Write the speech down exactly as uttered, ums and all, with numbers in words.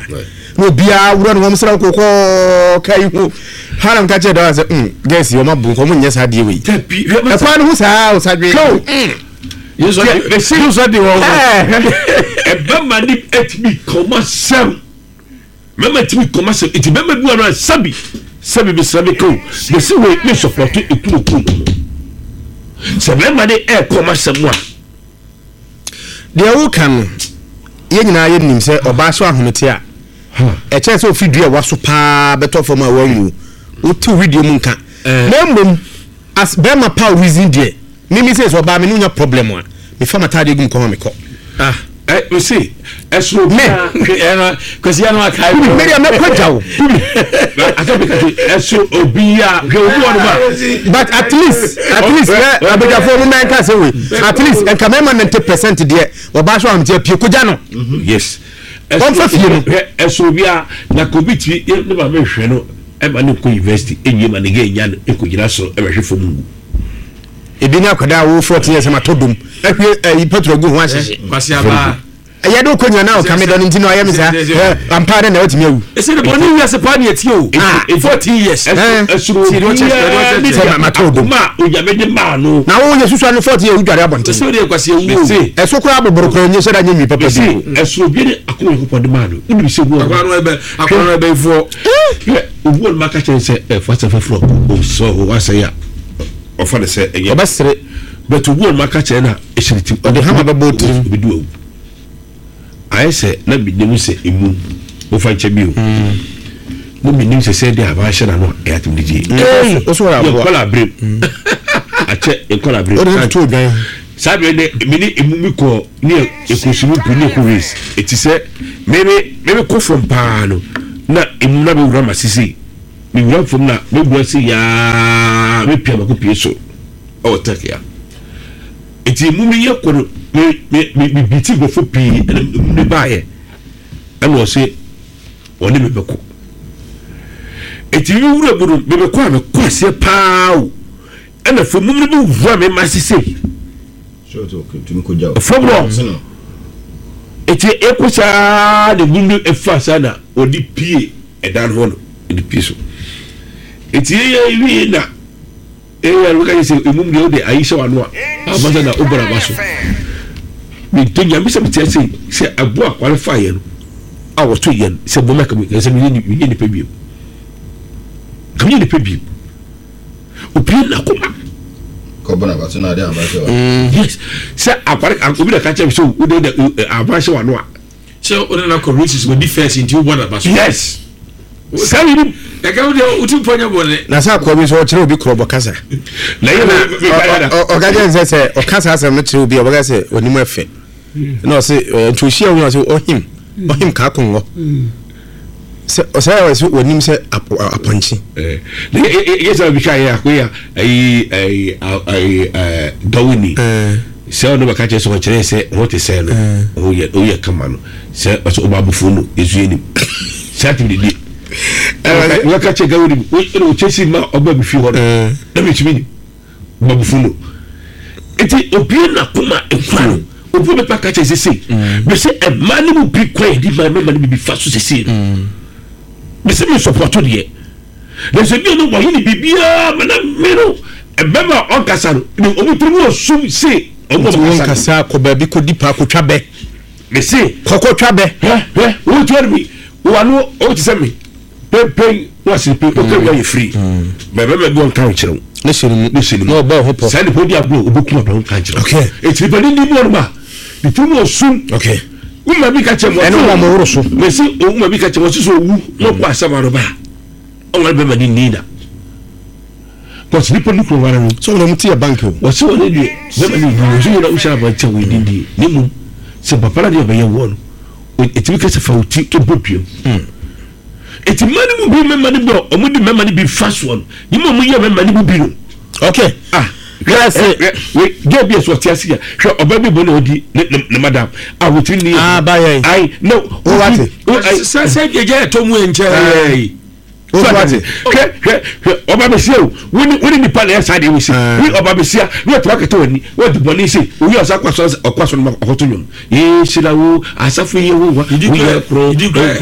Saa na obiara wura ne wɔn sra kɔkɔɔ ka yi ho haram ka kyerɛ dɔw sɛ mm girls yi, ɔma bu nkɔmɔ nyɛ saa deɛ wei. Dabi, hwɛ masa. Ɛkwan no ho saa o sadwe. Yesu de wɔ. Ɛbɛma ne ɛtumi kɔma sɛm, mɛma tumi kɔma sɛm, eti bɛma bi wɔ no a, sabi sabi, bisira mi ka o, bɛsi wei mi support ekunu kunu no sɛ bɛma ne ɛɛkɔma sɛm a. Deɛ woka no, yɛn nyinaa yɛnim sɛ ɔbaa so ahomete a, ɛkyerɛ sɛ ofi dua a waso paa bɛtɔ fam a wanwu, wote widie mu nka. Na mmom as bɛrima pa reason deɛ, mimi sɛ sɛ ɔbaa me ne wonya problem a, mefa m'atadeɛ gu mu kɔn a mekɔ. Ah, ɛ mesi ɛsoro Me. Ɛno Kwasi ano akae. Medeɛ mɛkɔ gya wo. Asɛ mi ka se ɛsoro obiara, hwɛ, obi wɔ no ma. But at least at least ɛ abadwafoɔ mu mɛnka sɛ wei, at least nka mɛma ninety percent deɛ, ɔbaa so ahomete apue kogya no. Yes. Ɔmfa fie no. Hwɛ, ɛsoro obiara na ko bi tiri ne maame hwɛ no, ɛma ne nkɔ university enwie ma ne gɛ nya no ekɔ gyina soro ɛbɛhwɛ fam ngu. Ebi ne akwadaa a wo fourteen years ma tɔ dom ahwie ɛyi petrol gu ho ahyehye. Kwasi aba. Ɛyɛ de okɔ nyina na ɔka me dɔ no nti na ɔyɛ me saa ɛ ampa dɛ na watumi awu. Ɛsɛ de bɔne wiase paa ne ɛtie o. Ah. Fourteen years. Eh. Ɛsoro Ti, deɛ ɔkyɛ- obiara deɛ ɔkyɛ- ne Sɛ ma- ma tɔ dom. akoma a Onyame de maa no. Na wo yɛ susua no fourteen years wodware abɔnten. Ɛsɛ deɛ Kwasi awu o. Mesi. Ɛso koraa boboro koraa nyɛ sɛ da nyɛ nwi papa Mesi bi. ɛsoro obiara ne akoma Onyankopɔn de maa no, wonim sɛ obi wɔ Akora no ɛbɛ akora no ɛbɛyifoɔ. Hwɛ, obi wɔ no ma ka kyerɛ sɛ ɛfa sɛ foforɔ ɔsɔ hɔ wasɛe a, ɔfa ne sɛ ɛnyɛ. Ɔbɛsere. But obi wɔ no ma ka kyerɛ no a, ɛhyɛ ne ti. Ɔde hama bɛbɔ wo tirim. Obi di wawu ayɛ sɛ na menim sɛ emu wofa nkyɛ bi o, na menim sɛ sɛ de aba ahyɛ n'ano a, ɛyɛ atem de gye. Wo so wɔyɛ aboa. Yɛnkɔla aberem akyɛ, yɛnkɔla aberem. Wode ne to odwan. Saa bere ne me ne emu mi kɔ ne ɛkɔ swimming pool ne ɛkɔ race, eti sɛ meme meme kɔ fam paa no na emu na mewura ma sisi mewura fam na mewura si yaa mepia mako pie so ɛwɔ tɛk ya, eti emu mi yɛ kɔ no, me me me me bi ti nkurɔfo pii, ɛna emu ne baayɛ ɛna ɔse ɔne me bɛkɔ, eti mi wura mu no, me bɛkɔ a, mekɔ aseɛ paa o, ɛna fam mu no bi wura me ma sisi fam hɔ, eti ekɔ saa na emu no efa saa na ɔde pie ɛdan hɔ no, ɛde pie so, eti yɛ wie na ɛyɛ ɛwɔ ka yɛ sɛ emu deɛ ɔde ayi hyɛ wano a amasa na ɔbɔ n'aba so. Mɛ nyame sɛ mete ase sɛ ɛbo akware fa yɛ no a wɔto yɛ no sɛ bɔmɛ kame sɛ meyɛ nipa bio, kame yɛ nipa bio, opie n'akoma. Yes, sɛ akware obi na ka kyerɛ mi sɛ o de de aba hyɛ wano a. Sɛ ɔne na kɔ races, wɔdi first nti wobɔ n'aba so. Yes, saa yi ni. Ɛka wo deɛ wotu mpa nyɛ bɔne. Na sɛ akoa bi nso ɔkyerɛ obi korɔbɔ kasa. Na yɛ na ɔka kyerɛ sɛ sɛ ɔka saa asɛm no kyerɛ obi a, ɔbɛka sɛ onim ɛfɛ na ɔse nti ohyia wo na ɔse ɔhim ɔhim kaakongɔ sɛ ɔsɛ ɔsɛ onim sɛ apɔnkye. Yɛ sɛ obi ka yɛ akoya ayi ayi ayi gawoni sɛ ɔno bɛka kyerɛ sɛ ɔkyerɛ sɛ ho te sɛ no ɔyɛ ɔyɛ kama no sɛ ɔsɛ ɔba abofo no esu anim saa ti didi wɔka kyerɛ gawoni ɛna ɔkyɛ si ma ɔba mi fi hɔ no na mi tumi nim ɔba abofo no, eti obie na koma ekura no, obi bɛpa ka kyerɛ sese bɛsɛ ɛmaa ne mu bi kwan yɛ di maa mɛma ne bi fa so sese no bɛsɛ mi support deɛ, na sɛ bi no wɔyɛ ne biribiara mɛ na mi no ɛbɛma ɔnkasa no ne ɔmo tiri mu ɔsum se ɔmo nti ɔmo wɔn kasa kɔ baabi kɔdi paa kɔtwa bɛ. Mese kɔkɔtwa bɛ. Hwɛ, hwɛ, wɔn ti wɔn mi wɔn ano ɔmo ti sɛ mi pɛnpɛn wɔn asi pɛn ɔkɛ wi ayɛ firi mɛ bɛmɛ bi wɔn kan kyerɛw. Ne hyɛ ne mu. Ne hyɛ ne mu. Na ɔbɔ ɔho pɔ. Saa nipa di agorɔ, obekum abɛn kan kyerɛw. Okay. Eti nipa ni ni mu wɔn ma ne tiri mu ɔsum. Okay wuma bi ka kyerɛ mu. Ɛne wɔn mo woro so. Mesi wuma bi ka kyerɛ mu ɔsi sɛ owu na ɔkɔ asɛm ano ba ɔwɔ bɛma ne ni na kɔsi nipa ni kuro wara no. Sɛ wɔn ti yɛ bank o. Wɔsi wɔn deɛ bɛma ne ni wɔsi wɔn a wohyɛ abɔnten wɔ edi die ne mu sɛ papa na deɛ ɔbɛyɛ wɔ no, etimi kɛse fa o ti ebɔ dua mu, eti mmaa no mu bi, mmarima no bi a ɔmo di mmarima no bi fa soɔ no ne mu a ɔmo yɛ mmarima no mu bi no. Okay. Ah. Yes. Hwɛ, girl bi a so ɔte ase a, hwɛ, ɔbaa bi bɔ na ɔdi ne ne ne madam a wotiri ne. Ah, bayɛ. Ayi no. O wate. Sɛ sɛ gya ɛtɔ mu nkyɛn yi. O wate. Hwɛ, hwɛ, hwɛ, ɔba bɛsia o, wone wone nipa na ɛyɛ saa deɛ wosi Ah. wo ɔba bɛsia na wɔtuma kɛtɛ w'ani, wɔde bɔne se owi ɔsa kɔ asɔre, ɔkɔ asɔre ma ɔkɔto nwom yee hyira wo asafo yɛ wo wa woyɛ koro Didi kura. koro.